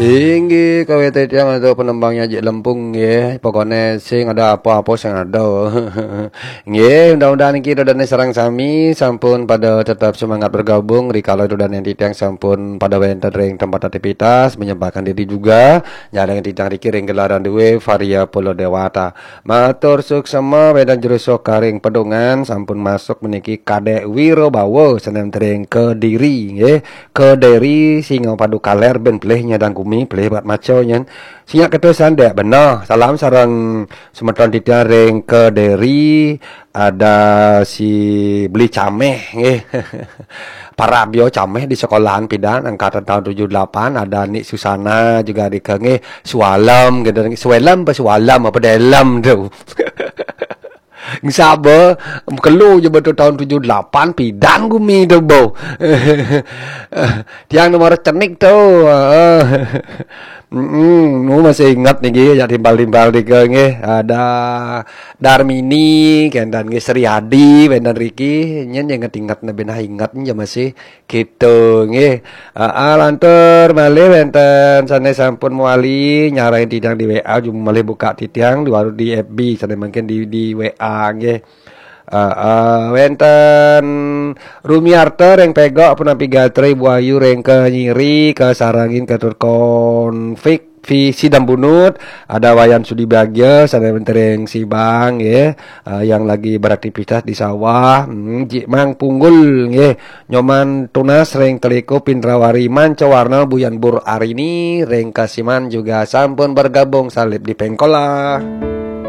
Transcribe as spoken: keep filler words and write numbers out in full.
Inggih, kawit titiang untuk penembangnya Jik Lempung, nggih. Pokoknya sing ada apa-apa sing ada. Nggih, mudah-mudahan niki dodane sareng sami sampun pada tetap semangat bergabung rikala dodane titiang sampun pada wenten ring tempat aktivitas, menyempatkan diri juga nyarengin titiang riki ring gelaran duwe Varia Pulo Dewata. Matur suksema wenten jero sokaring pedungan sampun masuk meniki Kadek Wiro Bawa senen ring Kediri, nggih. Kediri Singapadu Kaler ben pelih nyadang gumi, pelih buat maco nyen. Singak ketusan dek bener. Salam sareng semeton titiang ring Kediri, ada si Beli Cameh, nggih. Parabio Cameh di sekolahan pidan angkatan tahun tujuh delapan, ada Nik Susana juga di ke, nggih. Sualem gitu, Suelem apa Sualem apa Delem tu. Saba kelu je betul tahun tujuh delapan pidan gumi tu bo. Tiang nomor cenik tu. Heeh. Mm-mm, nu masih ingat niki ya timbal-timbal tiga nggih. Ada Darmini, kendan nggih Sri Adi, wenten riki, nyen yang ingat-ingat nebena ingat ya masih gitu nggih. Ah, lantur malih wenten sane sampun mewali nyarengin titiang di W A, jumah malih buka titiang di waru di F B, sane mungkin di, di W A nggih. Ah, ah, wenten Rumiarta ring Pegok, punapi gatra Ibu Ayu ring Kenyiri, kasarengin Ketut Konfik, Visi dan Bunut, ada Wayan Sudi Bagia, sane wenten ring Sibang, nggih, ah, yang lagi beraktivitas di sawah, hmm, Jik Mang Punggul, nggih, Nyoman Tunas ring Teliku Pindrawari Mancawarna Buyan Bur Arini ring Kasiman juga sampun bergabung salib di Pengkola.